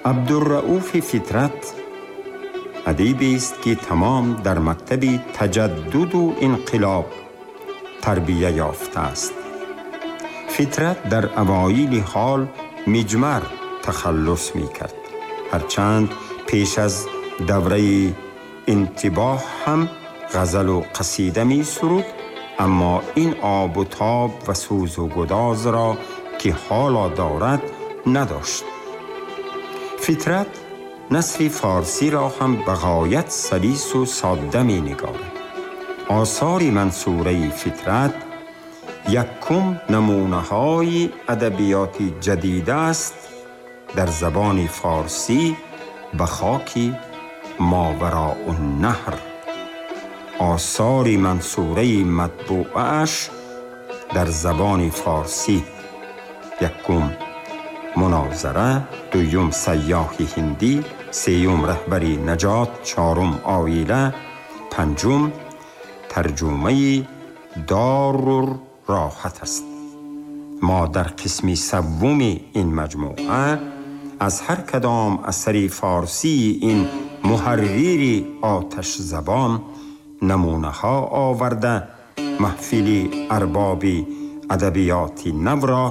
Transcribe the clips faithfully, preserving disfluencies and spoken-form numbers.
Абдурауф Фитрат адибе аст, ки тамом дар мактаби таҷаддуду инқилоб тарбия ёфтааст. Фитрат дар авоили ҳол Миҷмар тахаллус мекард. Ҳарчанд пеш аз давраи интибоҳ ҳам ғазалу қасида месуруд, аммо ин обу тоб ва сӯзу гудозро, ки ҳоло дорад, надошт. Фитрат насри форсиро ҳам ба ғоят салису содда менигорад. Осори мансураи Фитрат якум намунаҳои адабиёти ҷадида аст дар забони форсӣ ба хоки Мовароуннаҳр. Осори мансураи матбуааш дар забони форсӣ: якум Мунозара, дуюм Сайёҳи ҳиндӣ, сеюм Раҳбари наҷот, чорум Оила, панҷум тарҷумаи Дорур роҳат аст. Мо дар қисми севуми ин маҷмӯа аз ҳар кадом асари форсии ин муҳаррири оташзабон намунаҳо оварда, маҳфили арбоби адабиёти навро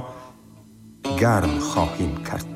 гарм хоҳем кард.